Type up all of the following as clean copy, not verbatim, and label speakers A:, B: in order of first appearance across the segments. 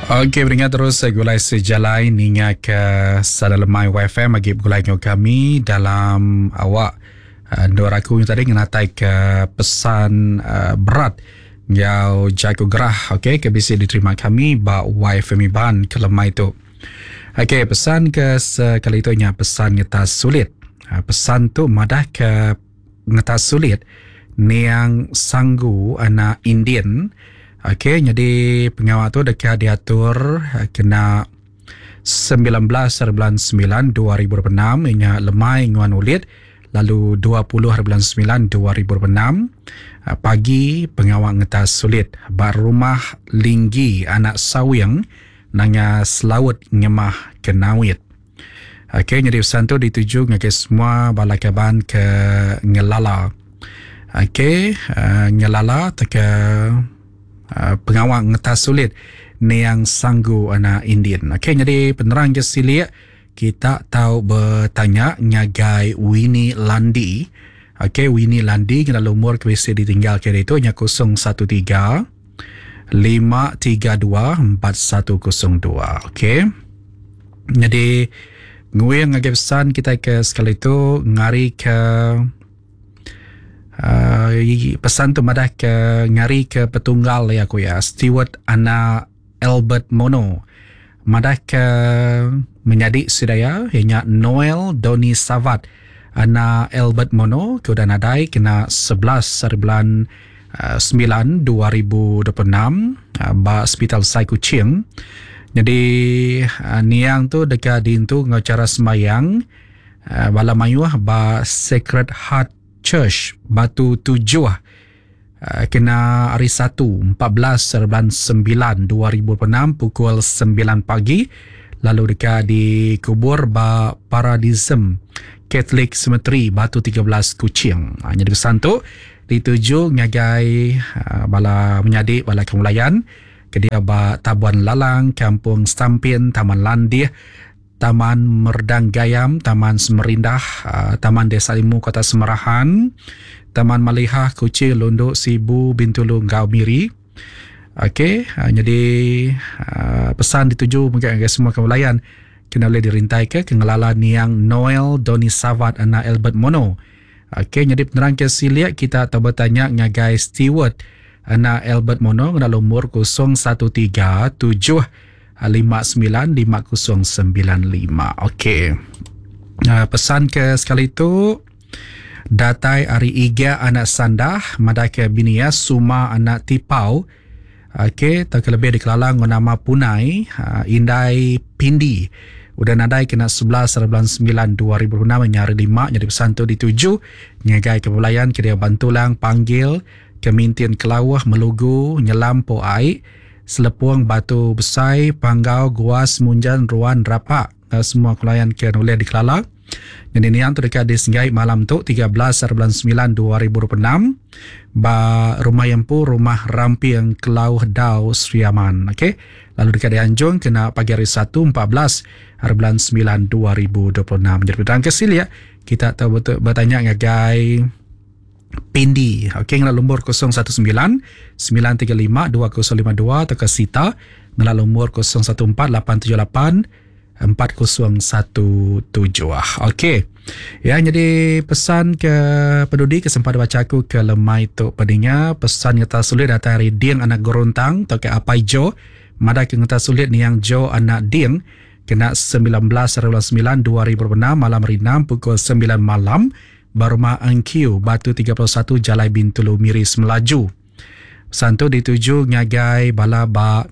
A: Okey beringat terus gulai sejalai ninga ke sada lemai YFM agi begulai enggau kami dalam awak eh, endur aku yang tadi ngenatai ke pesan eh, berat enggau jaku gerah okey ke bisi diterima kami ba YFM Iban ke lemai tu. Okey pesan ke sekali tu nya pesan ngetas sulit. Eh, pesan tu madah ke Ngetas sulit niang Sanggu anak Indin. Okey nyadi pengawa tu deka diatur kena 19 hari bulan 9 2026 inya lemai nguan ulit lalu 20 hari bulan 9 2026 pagi pengawa ngetas sulit ba rumah Linggi anak Sawing Nanga Selaut Ngemah Kenawit. Okey nyadi pesan tu dituju ngagai semua bala kaban ke ngelala. Okey uh, ngelala teka uh, pengawa ngetas sulit niang sanggu anak Indin. Okey nyadi penerang je silik kita tau bertanya ngagai Winnie Landi. Okey Winnie Landi ngena lumur ke bisi ditinggal ke ditu nya 013 532 4102. Okey. Nyadi nguing ngagai pesan kitai ke sekali tu ngari ke uh, pesan tu madah ke ngari ke petunggal ya ku ya Steward anak Albert Mono madah ke menyadi sidaya iya nya Noel Doni Savat anak Albert Mono ke udah nadai kena 11 hari bulan 9 2026 ba Sepital Besai Kuching. Nyadi niang tu deka diintu enggau chara sembahyang bala mayuh ba Sacred Heart Church Batu Tujuh kena hari Satu 14 hari bulan 9 2026 pukul 9 pagi lalu deka dikubur ba Paradisum Catholic Cemetery Batu 13 Kuching. Nyadi pesan tu Dituju ngagai bala menyadi bala kemulayan ke diau ba Tabuan Lalang, Kampung Stampin, Taman Landih, Taman Merdang Gayam, Taman Semerindah, Taman Desa Limu Kota Semerahan, Taman Malihah, Kuching, Lundu, Sibu, Bintulu enggau Miri. Okey, nyadi pesan dituju mega ngagai semua kemulayan kena ulih dirintaika ke ngelala niang Noel Doni Savat anak Albert Mono. Okey nyadi penerang ke silik kita tau betanya ngagai Steward anak Albert Mono ngena lumur 013 7 59 5095. Okey. Uh, pesan ke sekali tu datai ari Iga anak Sandah madai ke bini iya Suma anak Tipau. Okey, tauka lebih dikelala enggau nama Punai, Indai Pindi. Udah nadai kena 11 hari bulan 9 2026 nya hari lima nyadi pesan tu dituju ngagai ke belayan ke dia Bantulang Panggil Kemintin Kelauh Melugu Nyelam Po Ai Selepung Batu Besai Panggau Guas Munjan Ruan Rapak enggau semua kelayan ke ulih dikelala. Nyadi niang tu deka disenggai malam tu 13 hari bulan 9 2026 ba rumah iya empu Rumah Ramping Kelauh Dau Sri Aman. Okey. Lalu deka dianjung kena pagi hari Satu 14 hari bulan 9 2026. Jadi penerang ke silik kita tau betanya ngagai Pindi. Okey ngena lumur 019 935 2052 atau ke Sita ngena lumur 014 878 4017. Okey. Ya jadi pesan ke pedudi ke sempat baca aku ke lemai tu peninga pesan ngeta sulit datai ari Ding anak Goruntang tauka Apai Jo madah ke ngeta sulit niang Jo anak Ding kena 19 hari bulan 9 2026 malam hari 6 pukul 9 malam ba rumah Engkiu Batu 31 Jalai Bintulu Miri Semelaju. Pesan tu dituju ngagai bala ba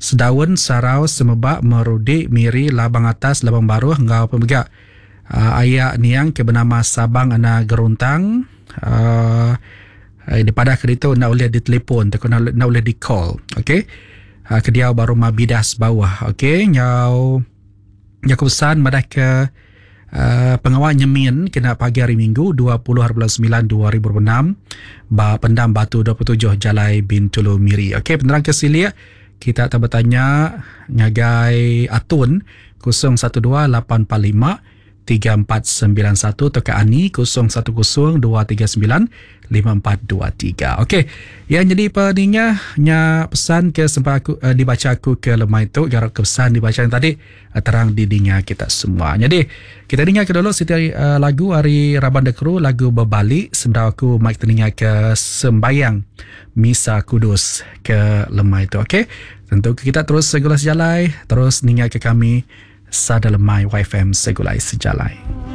A: Sedaun, Sarau, Semebak, Merudi, Miri, Labang Atas, Labang Baruh enggau pemega aya niang ke benama Sabang Ana Geruntang uhh dipadah ke ditu enda ulih ditelefon tauka enda ulih di call ok ke diau ba rumah Bidas Bauh ok enggau jaku pesan madah ke uhh pengawa nyemin kena pagi hari Minggu 20 hari bulan 9 2026 ba Pendam Batu 27 Jalai Bintulu Miri. Okey penerang ke silik kita tau betanya ngagai Atun 012 845 3491 tauka Ani 010 239 5423. Okey, yang jadi peninga nya pesan ke sempat aku uh, dibaca aku ke lemai tu garap ke pesan dibaca yang tadi uh, terang didinga kita semua. Jadi kita dinga ke dulu siti uh, lagu ari Raban The Crew lagu Bebali sebedau aku mai kita ninga ke sembayang Misa Kudus ke lemai tu. Okey, tentu kita terus segulai sejalai terus ninga ke kami Sada Lemai YFM Segulai Sejalai.